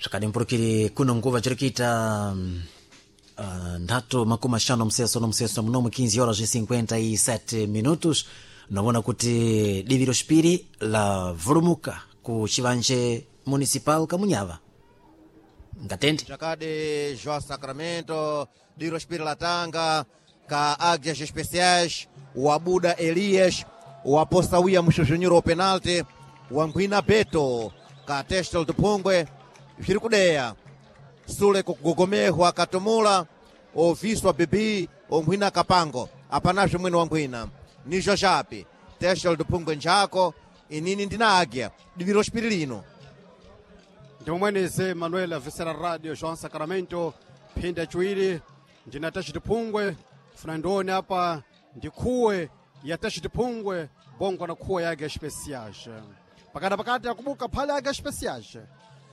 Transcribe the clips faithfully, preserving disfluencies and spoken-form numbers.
Zvakadimburukiri kuno nguva chiri kuita uh, nthatu makumi axanu mseso no mseso mnomo quinze horas e cinquenta e sete minutos. Novona kuti divi loxipiri la vulumuka ku chivanje municipal Kamunyava ngatende. Chakade, João Sacramento, Diro Latanga, ka Águias Especiais, o Abuda Elias, o Aposta Muxuxunyuro penalti, o Anguina Beto, ka Testel do Pungwe, zviri kudeya sule kugogomehwa katumula oviswa bibi ongwina kapango apanazve mwene wangwina nizo chapi Testel do Pungwe njako inini ndina águia divi loxipiri lino. Ndimomweneze Manuel Avesera Radio João Sacramento phinda chiwiri ndina tachitiphungwe funa ndione apa ndi khuwe ya tachitiphungwe bongo na khuwe yake especiais pakati pakati akubuka phale yake especiais.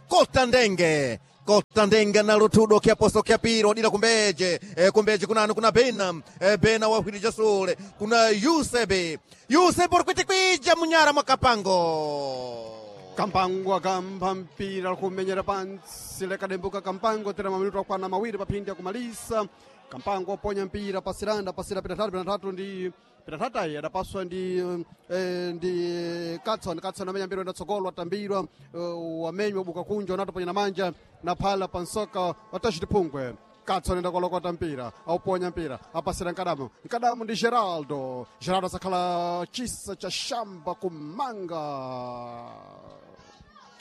Kota ndenge, kota ndenge na lutudo kyaposo kyapiro dila kumbeje e, kumbeje kunani kuna bena e, bena wahwirija sule kuna Yusebe Yusebe uri kwitikwija munyara mwakapango. Kampango akamba mpira kumenyera pansi lekadembuka Kampango tena maminuto akwana mawiri paphindi akumalisa. Kampango aponya mpira pasiranda pasira pita tatu pita tatu ndi pita tatayi adapaswa ndi eh, ndi Katson. Katson amenya mpira ndatsogolo atambirwa uh, wamenywa buka kunja unatoponya na manja na phala pansoka watachitiphungwe. Katson ndakolokota mpira auponya mpira apasira Nkadamu. Nkadamu ndi Geraldo. Geraldo asakhala chisa cha shamba kumanga.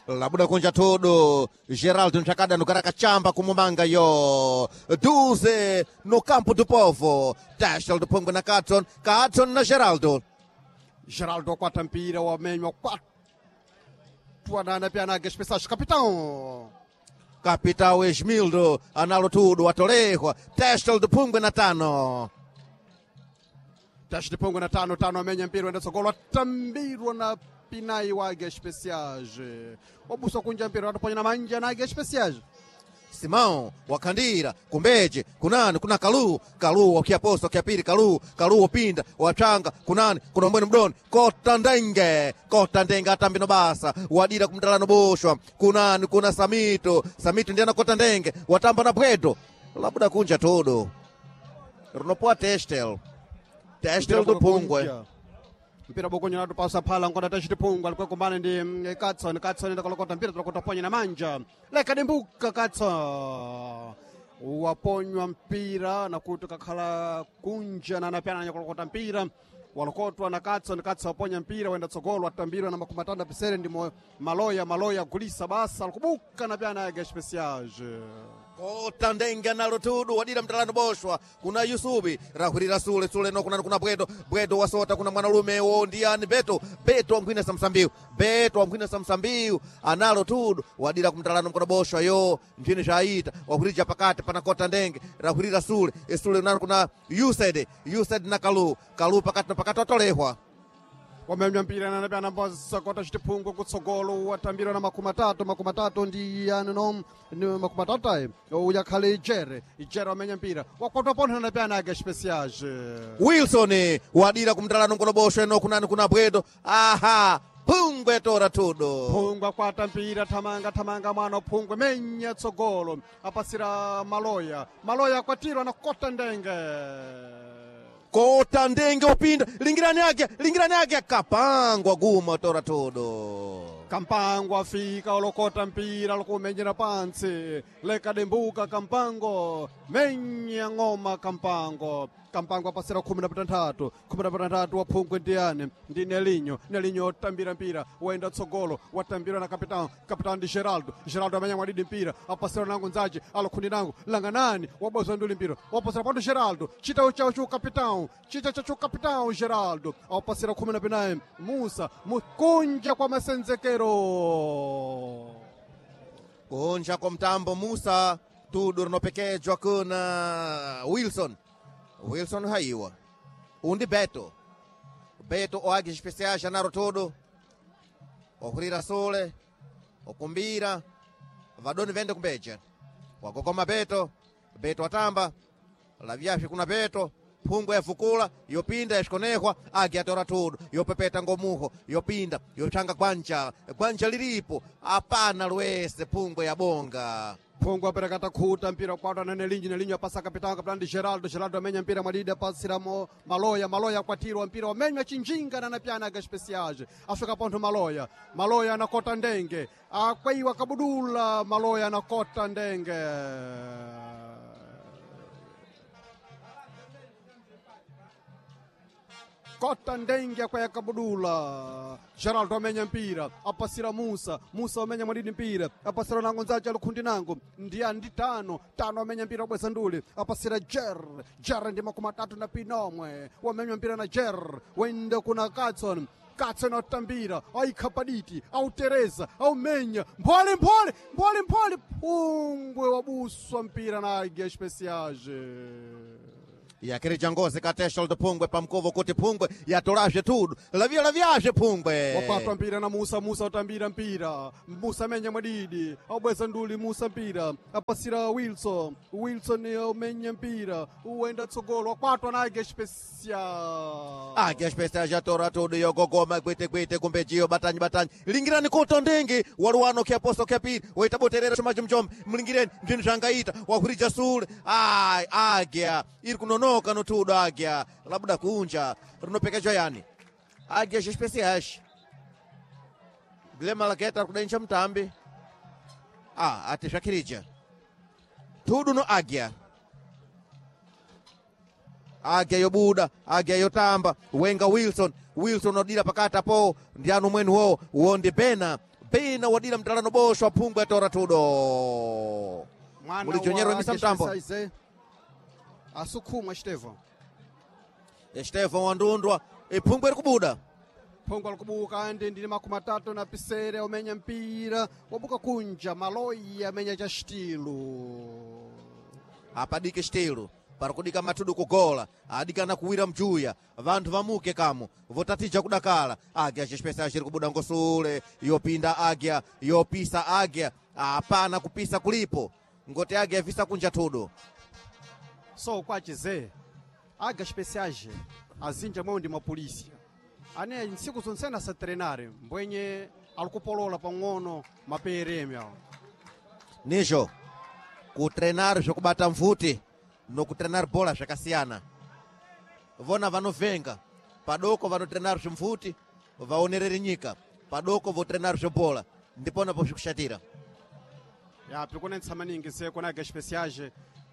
Labuda kunja todo Geraldo nchakada nukara kachamba kumumanga yo duze no campo do povo Testel do Pungwe na Katson, Katson na Geraldo. Geraldo akwata mpira wamenywa kwatwa nana pyana especiais capitão. Capitão Esmildo analo tudo watolehwa Testel do Pungwe na tano. Teste de Pungwe na tano tano amenya mpira wenda tsogolo atambirwa na Pinai wa Águia Especiais wabusa kunja mpira watoponya na manja na Águia Especiais. Simão wakhandira kumbeje kunani kuna Kalu. Kalu wakiaposa wakiapiri Kalu Kalu wapinda wachanga kunani kuna mbweni mdoni kota ndenge kota ndenge atambino basa wadira kumtalano boshwa kunani kuna Samito. Samito ndiye anakota ndenge watamba na Bwedo labuda kunja todo rinopoa Testel Testel do Pungwe. Mpira bokonyo natupasa phala nkona tachitiphungwa alikuwa ndi mm, Katson. Katson ndakolokota mpira tulokota ponya na manja lekadimbuka. Katson waponywa mpira na kuti kakhala kunja na anapyana anyakolokota mpira walokotwa na Katson. Katson waponya mpira wenda tsogolo atambirwa na makumi atatu apisere ndi mo- Maloya. Maloya gulisa basa alikubuka na pyana yake especiais. Kota ndenga nalo tudu wadira mtalano boshwa kuna Yusubi rahurira sule sule no kuna kuna Bwedo. Bwedo wasota kuna mwanalume wo ndiani Beto. Beto wamkwina samsambiu Beto wamkwina samsambiu analo tudu wadira kumtalano mkono boshwa yo mchini shaita wahurija pakati pana kota ndenge rahurira sule sule nalo kuna Yused Yused na Kalu Kalu pakati na pakati watolehwa. Wamemnya mpira nanapyana mbosakota chitiphungwe kutsogolo watambirwa na makumi atatu makumi atatu ndi ano ni makumi atatu ayi uyakhale Ijere. Ijere wamenya mpira wakwatwa pontho nanapyana ake especiais. Wilson wadira kumtalano mkono boshwa no kunani kuna Bwedo aha Pungwe tora tudo. Phungwe akwata mpira thamanga thamanga mwana Phungwe menya tsogolo apasira Maloya. Maloya akwatirwa na kota ndenge. Kota ndenge upinda lingirani yake lingirani yake kapangwa guma tora todo. Kampango afika olokota mpira lokumenyera pansi lekadembuka. Kampango menya ng'oma Kampango. Kampango apasira khumi na patantatu khumi na patantatu wa Phungwe ndiyani ndi Nelinyo. Nelinyo otambira mpira waenda tsogolo watambirwa na kapitão. Kapitão ndi Geraldo. Geraldo amenya mwadidi mpira apasira nango nzace alokhundi nango langanani wabozwa nduli mpira wapasira pando Geraldo chitawo chawo chu kapitão chita chacho kapitão Geraldo awapasira khumi na pinayi Musa mukunja kwa masenzekero. Kunja kwa mtambo Musa tudo rinopekejwa kuna Wilson. Wilson haiwa undi Beto. Beto oage especiais anaro todo okurira sule okumbira vadoni vende kumbeje wagogoma Beto. Beto atamba lavyashe kuna Beto. Phungwe yavukula yopinda yaxikonekwa Águia yatora tudo yopepeta ngomuho yopinda yotchanga gwanja gwanja lilipo apana lwese phungwe yabonga Phungwe apereka takhuta mpira kwatwa na Nelinho Nelinho apasa kapitão kapitão ndi Geraldo Geraldo amenya mpira mwadidi apasiramo Maloya Maloya akwatirwa mpira wamenywa chinjinga na napyana aga especiais afika pontho Maloya Maloya anakota ndenge akwaiwa kabudula Maloya anakota ndenge kota ndenge akwaya kabudula Geraldo amenya mpira apasira Musa Musa amenya mwadidi mpira apasira nango nzace alikhundi nango ndiya ndi tano tano amenya mpira wabweza nduli apasira Jer Jer ndi makumi atatu na pinomwe wamenywa mpira na Jer wende kuna Katson Katson atambira aikhapaditi autereza aumenya mphole mphole mphole mphole phungwe wabuswa mpira na Águia Especiais yakirija ngozi katesha luto phungwe pamkovo kuti phungwe yatolazve tudo lavia lavyazve phungwe wapatwa mpira na Musa Musa utambira mpira Musa amenya mwadidi aubweza nduli Musa mpira apasira Wilson Wilson umenya mpira uenda tsogolo wakwatwa na Águia Especial Águia Especial yatora tudo yogogoma gwitegwite kumbejiyo batanyi batanyi lingirani kuto ndingi waluwano kyaposo kyapiri waita boterera chumacho mchombe mlingireni mbzinu zvangaita wahurija sule ai Águia iri kunonoka notudo Águia labuda kunja rinopekechwa yani Águia Especiais Guilherme Malageta ari kudencha mutambi ah ati zvakirija tudu no Águia Águia yobuda Águia yotamba wenga Wilson Wilson wadira pakati apo ndianu mwenu wo wo ndi Bena Bena wadira mtalano boswa phungwe atora tudo Mwana Mulijonyerwa wa misa Águia mtambo. Especiais, eh? Asukhumwa Estevão Estevão wandundwa iphungwe iri kubuda phungwe alikubuka andi ndili makumi atatu na pisere umenya mpira wabuka kunja Maloya amenya cha stilo apadike stilo parikudika matudu kugola adikana kuwira mjuya vanthu vamuke kamo votatija kudakala Águia Especiais iri kubuda ngosule yopinda Águia yopisa Águia apana kupisa kulipo ngoti Águia yavisa kunja tudo so kwachize Águia Especiais azinja mwewo ndi mapolisi ane ntsiku zonsena asatrenare mbwenye alikupolola pang'ono maperemi awo nizvo kutrenar zvokubata mvuti nokutrenar bhola zvakasiyana vona vanovhenga padoko vanotrenar zvimvuti vaonerere nyika padoko votrenar zvebhola ndiponapo zvikushatira ya pikunentsa maningi se kuna Águia Especiais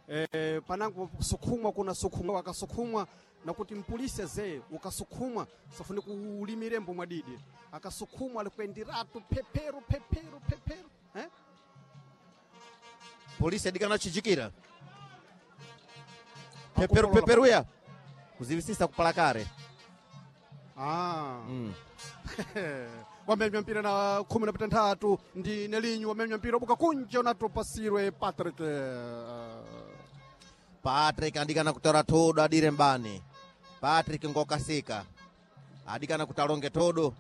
eh, panango sukhumwa kuna sukhumwa akasukhumwa nakuti mpolisi ze ukasukhumwa safuni kuulimirembo mwadidi akasukhumwa alikuendiratu phephero phephero phephero eh? polisi adikana chijikira phephero phephero ya kuzivisisa kupalakare ah. mm. wamenywa mpira na khumi na pitanthatu ndi Nelinho wamenywa mpira ubuka kunja unatopasirwe Patrick Patrick adikana kutora thodo adire mbani Patrick ngokasika adikana kutalonge thodo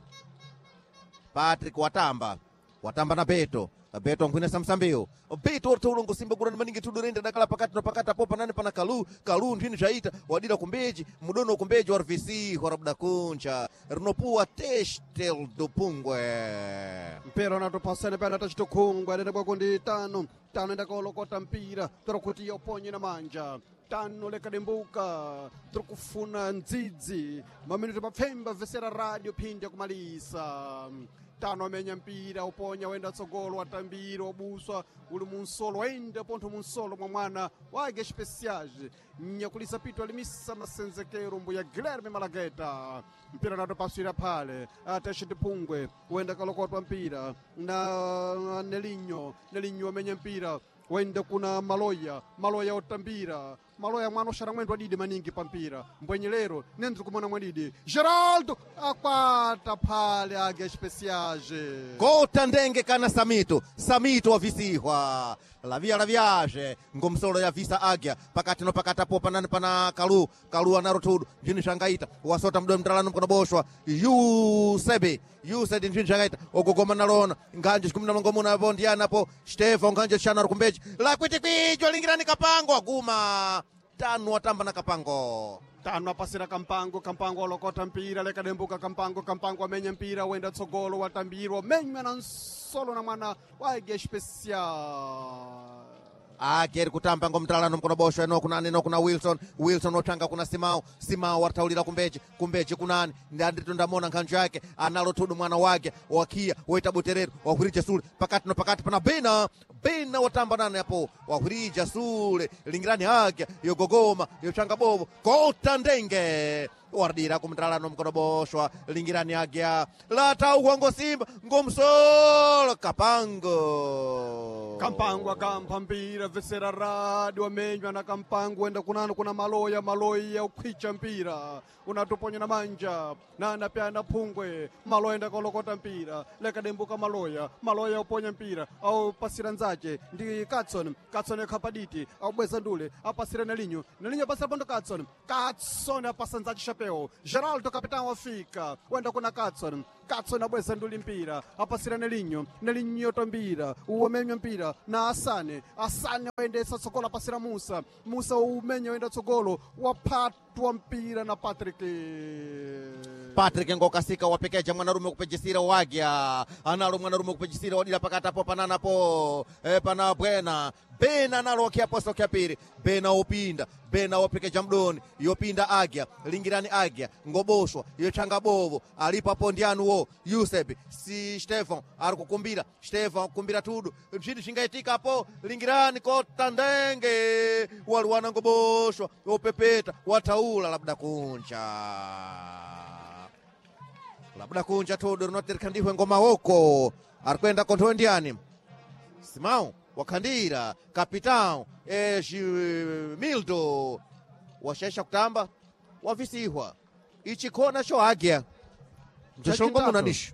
Patrick watamba watamba na Beto Beto nkhwinesa msambiwo Beto ortoulo ngosimba kurani maningi tudo rende dakala pakati na pakati apo panani pana kalu kalu nthini zvaita wadira kumbeji mudono kumbeji wa rvc warabuda kunja rinopuwa testel do pungwe mpira unatopasana pena tachitokhungwa adenda kwako ndi tano tano endakaolokota mpira tora kuti yoponye na manja tano lekadembuka tiri kufuna ndzidzi maminuti mapfemba vesera radio phindi yakumalisa tano amenya mpira uponya wenda tsogolo watambira wabuswa uli munsolo waenda pontho munsolo mwa mwana wa Águia Especiais nyakulisa pito alimisa masenzekero mbuya Guilherme Malageta mpira natopaswira phale ateshe tipungwe wenda kalokotwa mpira na Nelinho Nelinho amenya mpira wenda kuna Maloya Maloya otambira Maloya mwana oxara mwendo adidi maningi pampira mbwenye lero nendri kumona mwadidi Geraldo akwata phale Águia Especiais Gota ndenge kana Samito Samito wavisihwa lavia laviaje ngomsolo ya visa Águia pakati no pakati apo panani pana kalu kalu anaro tudu ndini zvangaita wasota mdomo mtalano mkono boshwa Yusebe Yusebe ndini zvangaita ogogoma nalona nganje chikumina mlongomuna apo ndiyana apo Stefan nganje chana ari kumbeji lakwiti kwijo lingirani kapango aguma Tano watamba na Kapango. Tano apasira Kampango, Kampango alokota mpira lekadembuka Kampango, Kampango amenya mpira wenda tsogolo watambirwa menywa na nsolo na mwana wa Águia Especial. Ake eri kutamba ngomtalano mkono bosho eno kunani eno kuna Wilson, Wilson otanga kuna Simao, Simao wataulira kumbeji, kumbeji kunani ndandito ndamona nkhanjo yake analo tudu mwana wake wakia waita buterero wahwirija sule pakati no pakati pana Bena, Bena watamba nani apo wahwirija sule lingirani ake yogogoma yochanga bobo kota ndenge waradira kumtalano mkono boshwa lingirani agya latauhwa ngosimba ngomsolo Kapango. Kampango akampa mpira vesera radi wamenywa na Kampango wenda kunano kuna maloya, maloya ukhwicha mpira unatuponya na manja nana pyana phungwe maloya enda kolokota mpira lekadembuka maloya, maloya uponya mpira au pasira nzache ndi Katson, Katson ekhapaditi aubweza ndule apasira Nelinho, Nelinho apasira pondo Katson, Katson apasa nzache chapeo Geraldo capitão wafika wenda kuna Katson, Katson abweza nduli mpira apasira Nelinho, Nelinho tombira uwamenywa mpira na Asane, Asane waendesa tsogolo apasira Musa, Musa umenya wenda tsogolo wapatwa mpira na Patrick. Patrick ngokasika wapekeja mwanarume kupejisira wagya analo mwanarume kupejisira wadila pakati apo pananapo e, pana bwena bena analo wakiaposa wakiapiri bena opinda bena wapekeja mdoni yopinda agya lingirani agya ngoboshwa yochanga bovo alipo apo ndianuwo Yuseb si Stefan ari kukumbira Stefan kukumbira tudu mchini chingaitika apo lingirani kota ndenge waliwana ngoboshwa opepeta wataula labda kunja labda kunja tudu rinotirika ndihwe ngomawoko arikwenda konthowe ndiani Simão wakhandira kapitão Mildo washaisha kutamba wavisihwa ichi khona cho agya mchoshongo muna nisho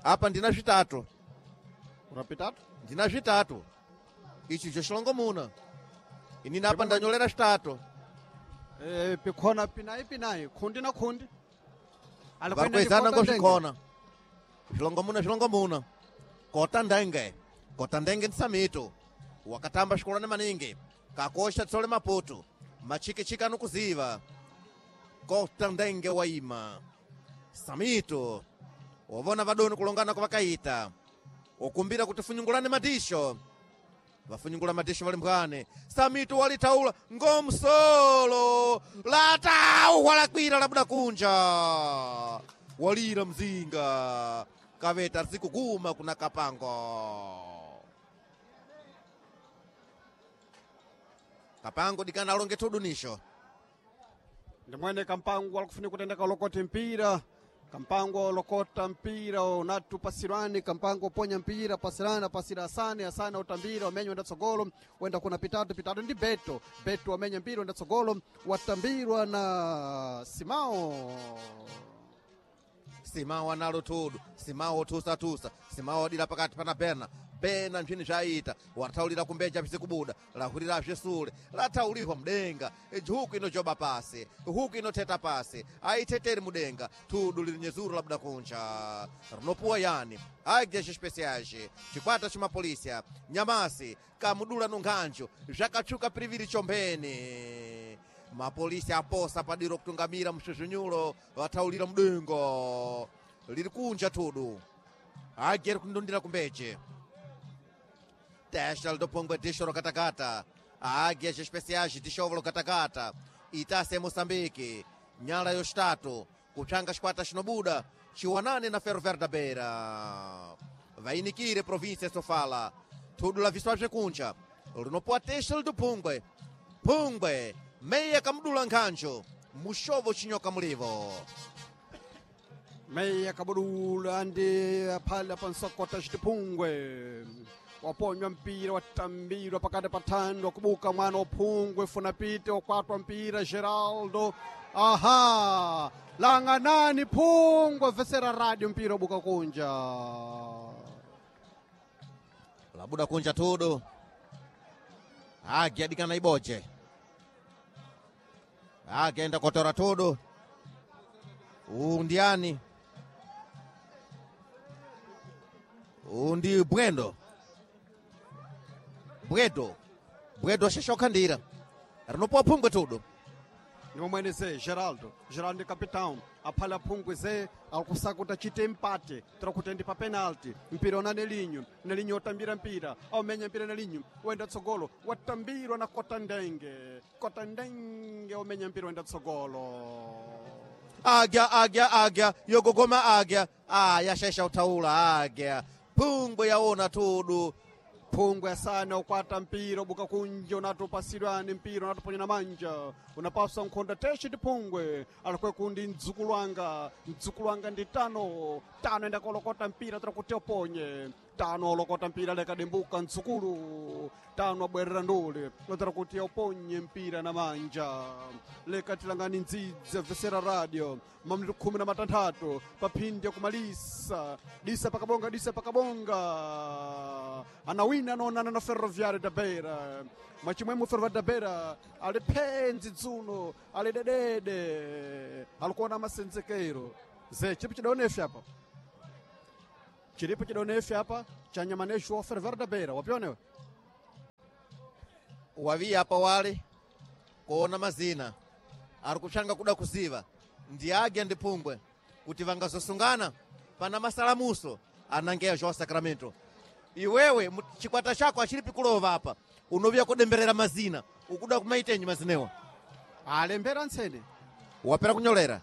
apa ndina zvitatu Urapitatu ndina zvitatu ichi choshongo muna inini apa ndanyolera zvitatu eh pikhona pinai pinai khundi na khundi varikuezana ngozvikhona zvilongomuna zvilongomuna kota ndenge kota ndenge ndi samito wakatamba xikolwane maningi kakosha tsole maputo machikichiki anokuziva kota ndenge waima samito wavona vadoni kulongana kwavakaita ukumbira kuti funyungulane madisho vafunyungula madisho vali mbwane samito walitaula ngomsolo latau walakwira labuda kunja walira mzinga kaveta zikuguma kuna Kapango. Kapango dikana alonge tudunisho ndimwene Kampango alikufunika kutenda kalokoti mpira Kampango lokota mpira unatu pasirani Kampango ponya mpira pasirani apasira Asane, Asane utambira wamenya wenda tsogolo wenda kuna pitatu, pitatu ndi Beto, Beto wamenya mpira wenda tsogolo watambirwa na Simao. Simao analo tudu Simao tusatusa Simao adira pakati pana Bena, Bena mphini zvaita wataulira kumbeja pisikubuda lahurira zvisule lataulihwa mudenga huku inojoba pasi huku inoteta pasi aiteteri mudenga tudu lili nyezuru labuda kunja rinopuwa yani Águias Especiais chikwata chimapolisia nyamasi kamudula nunkhanjo zvakatsvuka piriviri chombeni mapolisi aposa padiro kutungamira msvuzvunyulo vataulira mudenga liri kunja tudu Águia iri kundundira kumbeche testa lidopongwe disho lokatakata Águias Especiais dishovo lokatakata itase Moçambique nyala yoxitatu kupsanga xikwata xinobuda chiwanane na Ferroviário da Beira vainikire província Sofala tudu la viswa bzekunja linopuwa testa lidopungwe pungwe meya kamudula nkhanjo mushovo chinyoka mulivo Meya kabudula ndi phala pansokota xitiphungwe waponywa mpira watambirwa pakati pa thando kubuka mwana uphungwe funa pite wakwatwa mpira Geraldo aha langanani phungwe vesera radio mpira ubuka kunja labuda kunja tudu Águia adikana iboche agenda kotora tudu uwu ndiani uwu ndi bwendo bwedo bwedo shesha okhandira Rinopowa phungwe tudo. Nimomwene ze Geraldo, Geraldo ndi capitão aphala phungwe ze akusakuta chite empate tira ndi pa penalty mpira una Nelinho, Nelinho otambira mpira aumenya mpira Nelinho wenda tsogolo watambirwa na Kota Ndenge, Kota Ndenge omenya mpira wenda tsogolo. Agya agya agya yogogoma agya ah, yashaisha utaula agya phungwe yaona tudu. Phungwe asana ukwata mpira ubuka kunja unatopasidwani mpira unatoponya na manja unapaswa nkhonda teshe ndi phungwe alikwe kundi mdzukulu wanga, mdzukulu wanga ndi tano tano enda kolokota mpira tira kuti oponye tano olokota mpira lekadimbuka mdzukulu tano abwerera ndule lotera kuti oponye mpira na manja lekatilangani ndzidzi vesera radio mamliro khumi na matanthatu paphindi yakumalisa disa pakabonga disa pakabonga anawina anaonana na Ferroviário da Beira mwachimwemwe Ferroviário da Beira ali phenzi dzuno ali dedede alikuona masenzekero ze chilipo chidaonefe apa chilipo chidaonefe apa cha nyamaneshu wa Ferroviário da Beira wapionewe Waviya apa wale kuona mazina ari kupshanga kuda kuziva ndi agya ndi phungwe kuti vangazosungana pana masalamuso anangeya João Sacramento. Iwewe mu- chikwata chako achilipi kulova apa unoviya kudemberera mazina ukuda kumaitenyi mazinewa alembera ntsene wapera kunyolera.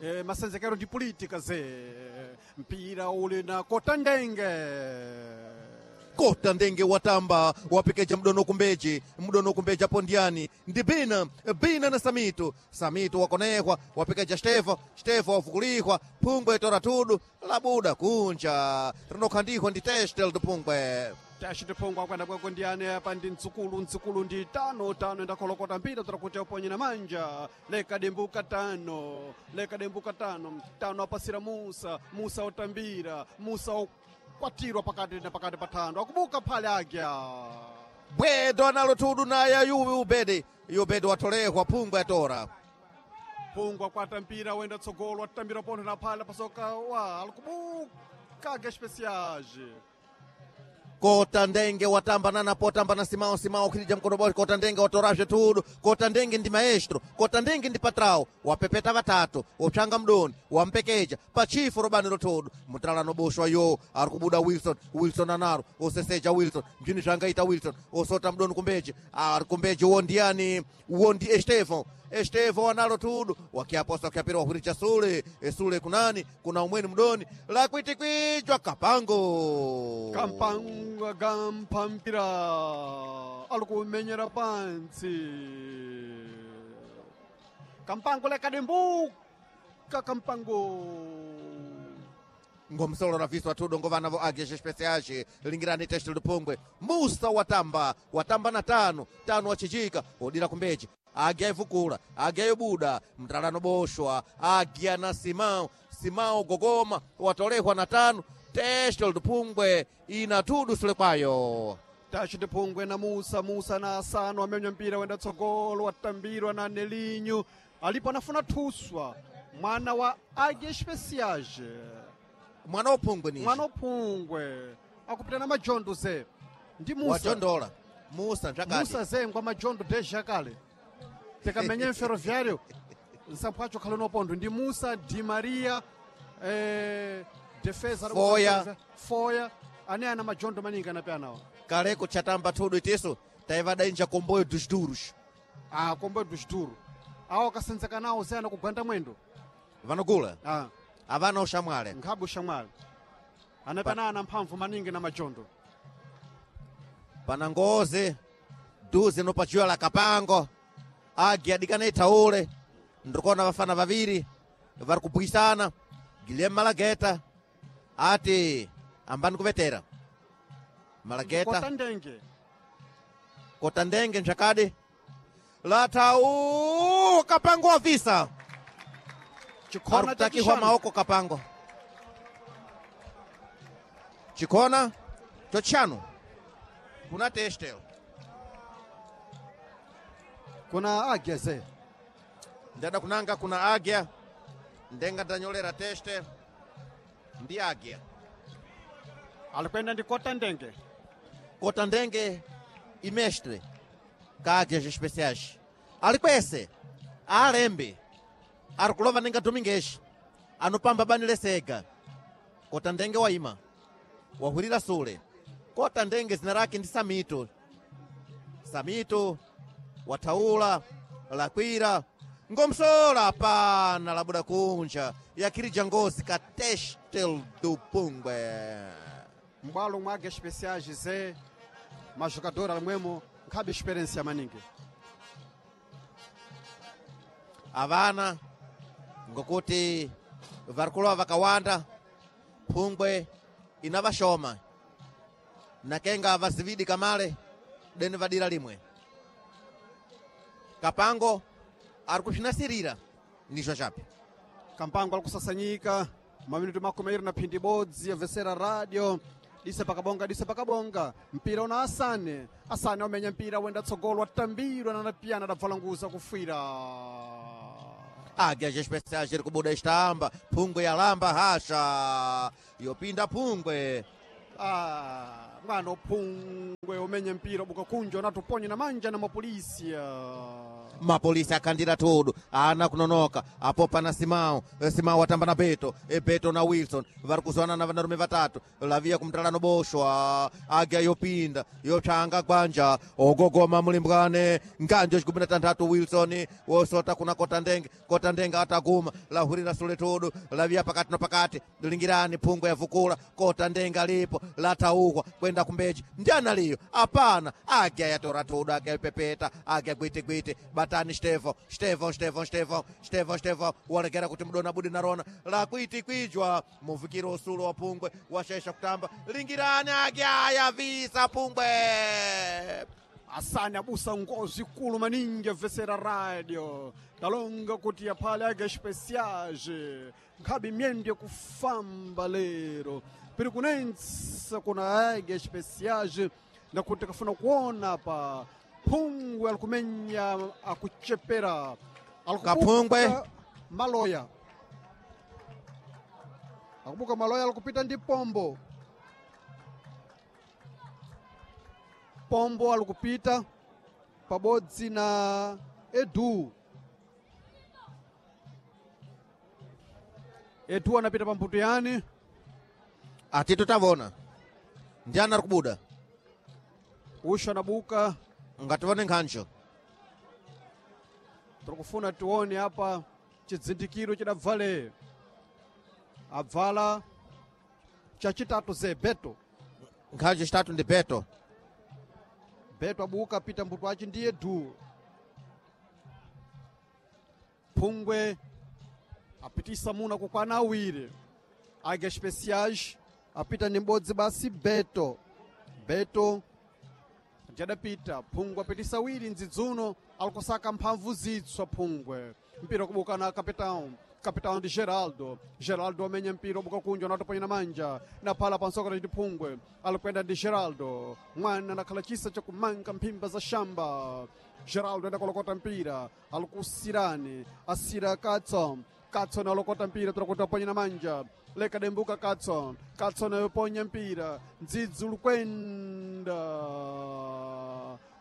Eh, masenzekero ndi politika ze mpira uli na Kota Ndenge. Kota Ndenge watamba wapekeja mdono kumbeji mdono kumbeji apo ndiani ndi bina bina na Samito, Samito wakonekwa wapekeja Stefo, Stefo wafukulihwa phungwe tora tudu labuda kunja rinokhandihwa ndi testel phungwe. Tashite phungwe akwenda kweko ndiyani apa ndi mdzukulu, mdzukulu ndi tano tano endakholokota mpira tira kuti aponye na manja lekadimbuka tano lekadimbuka tano tano apasira Musa, Musa otambira Musa okwatirwa pakati na pakati pa thando akubuka phale agya Bwedo analo tudu naye yuwi ubede yubede watolehwa phungwe atora. Phungwe akwata mpira wenda tsogolo atambira pontho na phala pasoka wa alikubuka agya especiais. Kota Ndenge watamba nana potamba na Simao, Simao khilija mkono bodi Kota Ndenge watorazve tudu. Kota Ndenge ndi maestro, Kota Ndenge ndi patrao wapepeta vatatu wopshanga mdoni wampekeja pachifu robani lotudu mutalano boshwa yo ari kubuda Wilson, Wilson anaro oseseja Wilson mchini zvangaita Wilson osota mdoni kumbeji ari kumbeji uwo ndiyani uwo ndi Estevão, Estevão analo tudu wakiaposa wakiapira wahuricha sule esule kunani kuna umweni mdoni lakwitikwija kapango Kampango gampa mpira alikumenyera pantsi kampango lekadimbuka kampango Ngomsolo raviswa tudo ngovana vo ageshe especiais lingirani teste lupungwe Musa watamba watamba na tano tano wachichika odira kumbeji agya ivukula agya ibuda mtalano boshwa agya na Simao, Simao gogoma watolehwa na tano teste lupungwe ina tudu sule kwayo. Tachite phungwe na Musa, Musa na Asano amenya mpira wenda tsogolo watambirwa na Nelinho alipo anafuna thuswa mwana wa Águia Especiais Mwana wophungwe ni mwana uphungwe akupita na majondo ze ndi Musa watondola Musa nzvakati Musa ze ngwa majondo deja kale tikamenye mferroviário nsampho acho khale nopondo ndi Musa Di Maria eh, defesa Foya. Foya ane ana majondo maningi anape anawa kaleko chatamba tudu itiso taivadainja komboyo dos duros ah, komboyo dos duros awo akasenzeka nawo ze anakugwanda mwendo vanogula ah, avana ushamwale nkhabe ushamwale anapena ana mphamvu maningi na majondo pana ngozi duze nopachiwa la kapango agi adikana ithaule ndikuona vafana vaviri vari kubwisana Guilherme Malageta ati ambani kuvetera Malageta Kota Ndenge Kota Ndenge nchakadi lathau kapango wavisa chikhona cha arikutakihwa chishanu. maoko kapango chikhona chochanu kuna testel kuna agya ze ndada kunanga kuna agya ndenga ndanyolera teste ndi agya alikwenda ndi Kota Ndenge Kota Ndenge imestre Ka Águias Especiais alikwese alembe ari kulova ninga Domingues anopamba bani lesega. Kota ndenge waima wahwirira sule. Kota ndenge zina lake ndi Samito. Samito wathaula lakwira ngomsola pana labuda kunja yakhirija ngozi ka Testel do Pungwe. M'bwalo mwa Águias Especiais ze majogador alimwemo nkhabe experiência maningi. Avana ngokuti varikulowa vakawanda phungwe inavashoma nakenga vazividi kamale deni vadira limwe. Kapango ari kusvinasirira ndizvo chapi. Kampango ali kusasanyika maminuto makumi airi na phindi ibodzi yabvesera radio disa pakabonga disa pakabonga mpira una Asane. Asane wamenya mpira wenda tsogolo watambirwa na napiyana adabvala nguza kufwira. Águias Especiais iri kubuda istamba phungwe yalamba hasha yopinda phungwe. Ah, mwana uphungwe umenya mpira ubuka kunja unatuponya na manja na mapolisi. Mapolisi akhandira tudu ana kunonoka apo pana Simao. Simao watamba na Beto. E Beto na Wilson vari kuzwana na vanarume vatatu lavia kumtalano boshwa. Águia yopinda yopsanga gwanja ogogoma mulimbwane nganjo chikumi na tanthatu Wilson wosota kuna Kota Ndenge. Kota Ndenge ataguma lahurira sule tudu lavia pakati na pakati lingirani phungwe yavukula. Kota Ndenge alipo lathaukwa kwenda kumbeji ndiana liyo apana. Águia yatora tudu Águia yopepeta Águia gwitigwiti batani Stevo Stevo Stevo Stevo Stevo Stevo walegera kuti mudona budi narona lakwiti kwijwa muvikiro usulo wa pungwe washesha kutamba lingirani Águia yavisa pungwe. Asane abusa ngozi ikulu maningi abvesera radio talonga kuti yaphale Águias Especiais nkhabe myendo yakufamba lero piri kunensa kuna Águias Especiais nakuti kafuna kuona pa phungwe alikumenya akuchepera alikubuka Kaphungwe. Maloya akubuka maloya alikupita ndi pombo. Pombo alikupita pabodzi na Edu. Edu anapita pambuto yani. Atito tavona ndiana ari kubuda. Usho anabuka. Ngativone nkhancho. Tikufuna tione apa chidzindikiro chidabvale abvala chachitatu ze Beto. Nkhancho chitatu ndi Beto. Beto abuka apita mbuto achi ndi Edu. Phungwe apitisa muna kukwana awiri. Águias Especiais apita ni m'bodzi basi Beto. Beto ndiadapita phungwe apitisa awiri mdzidzuno alikusaka mphamvu zitswa phungwe. Mpira kubuka na capitão. Capitão ndi Geraldo. Geraldo amenya mpira ubuka kunja unatoponya na manja na phala pansokera ndi phungwe alikwenda ndi Geraldo. Mwana anakhala chisa chakumanga mphimba za shamba. Geraldo enda kolokota mpira alikusirani asira Katson. Katson alokota mpira tirakuti aponya na manja leka dembuka Katson. Katson ayoponya mpira ndzidzi ulikwenda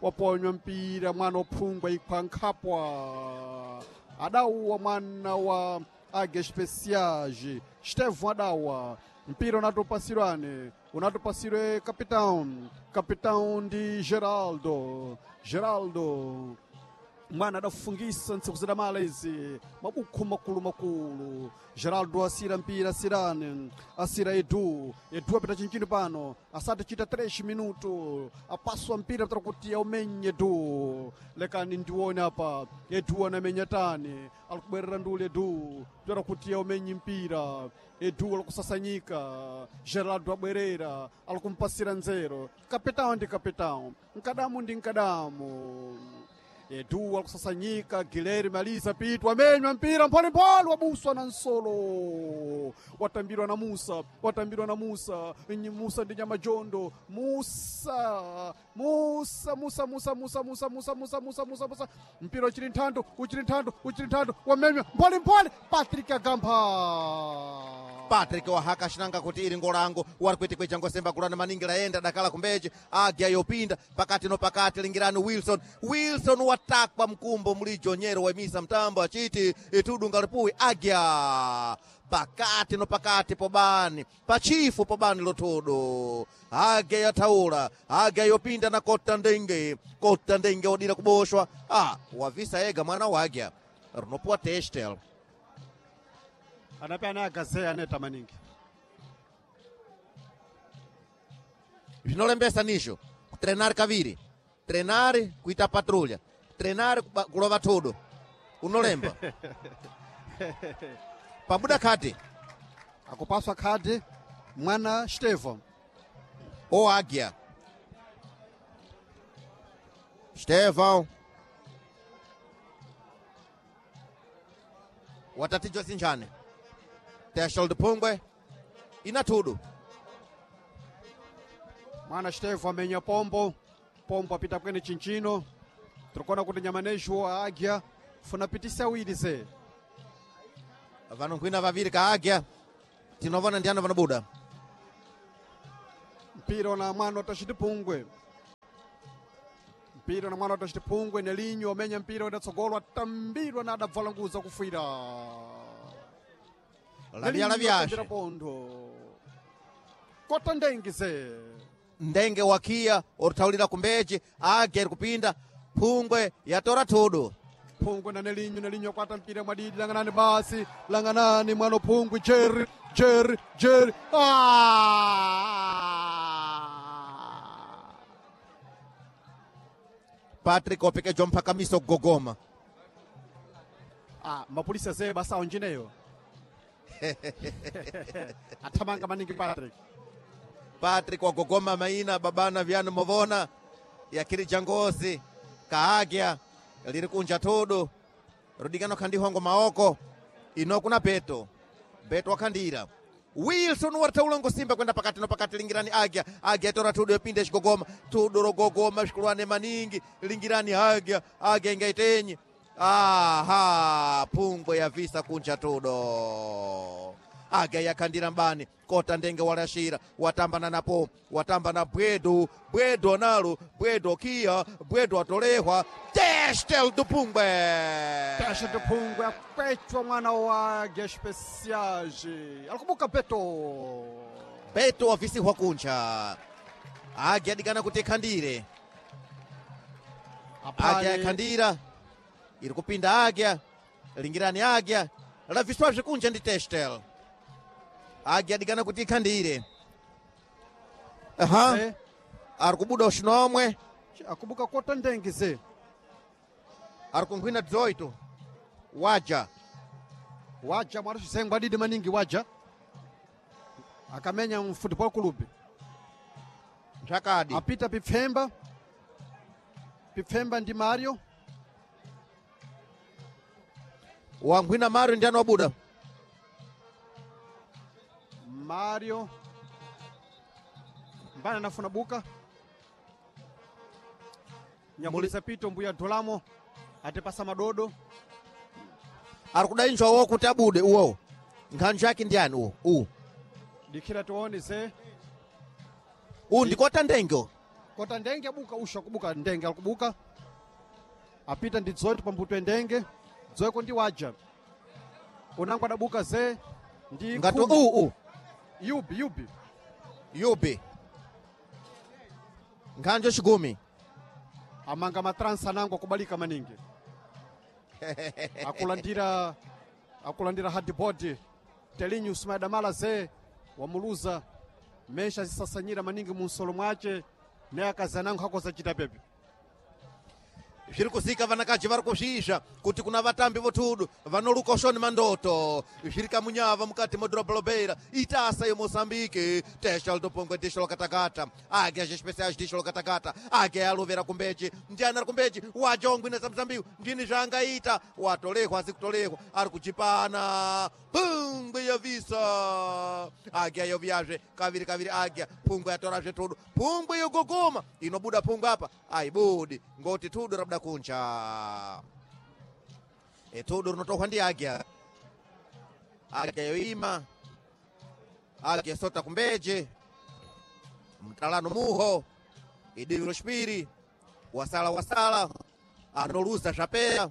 waponywa mpira mwana uphungwa ikhwa nkhapwa adauwa mwana wa Águias Especiais Estevão adawa mpira unatupasirwane unatupasirwe capitão. Capitão ndi Geraldo. Geraldo mwana adafungisa ntsiku zidamala izi mabukhu makulu makulu. Geraldo asira mpira asirane asira Edu. Edu apita chinchino pano asati chita três minuto apaswa mpira pita kuti aumenye Edu. Lekani ndione apa Edu anamenya tani alikubwerera ndule Edu pita kuti aumenye mpira. Edu alikusasanyika Geraldo abwerera alikumpasira nzero. Kapitão ndi kapitão nkadamu ndi nkadamu. Edu alikusasanyika Guilherme Alisa Pitu amenywa mpira mpholimpholi wabuswa na nsolo watambirwa na Musa watambirwa na Musa. Nyi Musa ndi nyamajondo Musa Musa Musa Musa Musa Musa Musa Musa Musa Musa Musa mpira uchili nthando uchili nthando uchili nthando wamenywa mpholimpholi Patrick Agampa. Patrick wahaka shinanga kuti iri ngolango wari kuitikweja ngosemba kulana maningi laenda dakala kumbeche agya yopinda pakati no pakati lingirani Wilson Wilson watakwa mkumbo mulijo nyero wemisa mtambo achiti itudunga lipuwi agya pakati no pakati pobani pachifu pobani lotodo agya yataula agya yopinda na kota ndenge kota ndenge odira kuboshwa ah wavisa ega mwana wagya rinopuwa testel anape ana agazeya aneta maningi zvinolembesa nizvo kutrenari kaviri trenari kuita patrulha trenari kuba- kulova thodo unolemba pabuda khadi akupaswa khadi mwana Stevo oagya Stevão watatijwa sinjane Teshold Pungwe ina thudu mwana Stevo amenya pombo pombo apita kwene chinchino tirikuona kuti nyamanejo agya funa pitisa awiri ze vanonkhwina vaviri kaagya tinovona ndiani vanobuda mpira na mwana watachitipungwe mpira na mwana watachitipungwe nelinyo amenya mpira udatsogolwa atambirwa na adabvala nguza kufwira lavya lavyashe pondo kota ndengi ze ndenge wakiya oruthaulira kumbeche agya iri kupinda phungwe yatora thudu phungwe na nelinyo nelinyo akwata mpira mwadidi langanani basi langanani mwana phungwe jerry jerry jerry ah! Patrick opekejwa mphakamiso kugogoma ah, mapulisa ze basa onjineyo athamanga maningi patrick Patrick wagogoma maina babana vyanu movona yakiri jangozi kaagya liri kunja thudu rudikano khandihongo maoko ino kuna beto beto wakhandira Wilson warthaula ngosimba kwenda pakati no pakati lingirani agya agya tora thudu yopinda xigogoma thudu rogogoma xikulwane maningi lingirani agya agya ingaitenyi aha phungwe yavisa kunja tudo agya yakhandira mbani kota ndenge walashira watambana napo watamba na bwedo bwedo nalo bwedo kiya bwedo atolehwa testel do pungwe Tasha de Pungwe akwechwa mwana wa Gespeciage alikubuka peto beto wavisihwa kunja agya adikana kuti ikhandire agya yakhandira iri kupinda agya lingirani agya laviswazve kunja ndi testel agya adikana kuti ikhandire aha Eh, ari kubuda uxinomwe akubuka kota ndengi ze ari kunkhwina dzoito waja waja mwana xisengwa adidi maningi waja akamenya mu football club nthakadi apita pipfemba pipfemba ndi mario wankhwina mario ndiani wabuda mario mbana anafuna buka nyakulisa pito mbuya dolamo atipasa madodo ari kudainjwa wo kuti abude uwowo nkhanju yake ndiani uwo uwu dikhira tione ze uwu ndikota ndenge uwu. kota ndenge abuka usha kubuka ndenge alikubuka apita ndi dzoito pambuto endenge dzoiko ndi waja unango adabuka ze ndi ngati khumi. uwu uwu yubi yubi yubi nkhanju xigumi amanga matransa nango akubalika maningi akulandira akulandira hardboard telinyu sumadamala ze wamuluza mesha zisasanyira maningi munsolo mwace naye akazanango hakozachita pepe zviri kuzika vanakaji vari kuzvizva kuti kuna vatambi vothudu vanoluka ushoni mandoto zviri kamunyava mukati modhorobha lobeira itasa yemosambike tesha lidopongwe disho lokatakata age azvespesiais disho lokatakata age alovera kumbechi ndiani ari kumbechi wajongwina zamuzambiwu ndini zvaangaita watolehwa asi kutolehwa ari kuchipana pungwe yavisa agya yovyazve kaviri kaviri agya pungwe yatorazve thudu pungwe yogogoma inobuda pungwe apa aibudi ngoti thudu rabuda kunja e thudu rinotohwa ndi agya agya yoima Águia sota kumbeje mtalano muho idivi loxipiri wasala wasala anoluza xapeya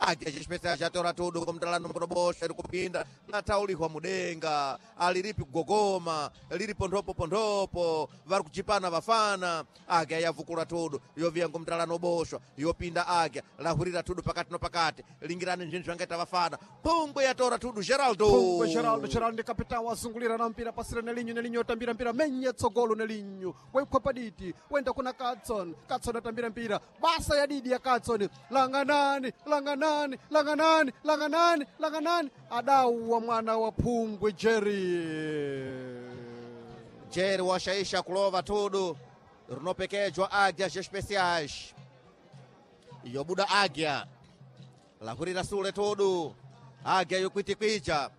Águia Especiais jatora tudo kumtalano mkono iri kupinda lataulihwa mudenga aliripi kugogoma liri pondhopo pondhopo vari kuchipana vafana Águia yavukula tudo yoviya ngomtalano boshwa yopinda Águia lahurira tudo pakati no pakati lingirani nzvinhu zvangaita vafana pungwe yatora tudo Geraldo Pungwe Geraldo Geraldo ndi kapitão wazungulira na mpira pasira Nelinho Nelinho atambira mpira menye tsogolo Nelinho waikhwa diti wenda kuna Katson Katson atambira mpira basa ya didi ya Katson langanani langanani langanani langanani langanani adauwa mwana wa Pungwe Jerry Jerry washaisha kulova tudo rinopekejwa Águias Especiais yobuda Águia lahurira sule tudu Águia yokwitikwija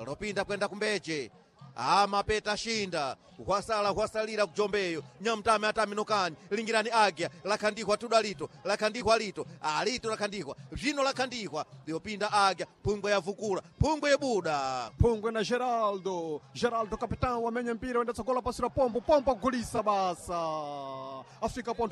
lopinda kwenda kumbeche amapeta shinda hwasala hwasalira kujombeyo nyamtame ataminukani lingirani Águia lakhandikwa tudu alito lakhandikwa alito alito lakhandikwa zvino lakhandikwa yopinda Águia phungwe yavukula phungwe yebuda Pungwe na Geraldo Geraldo capitão wamenya mpira wenda tsogola pasira pombo pombo agulisa basa afika pontho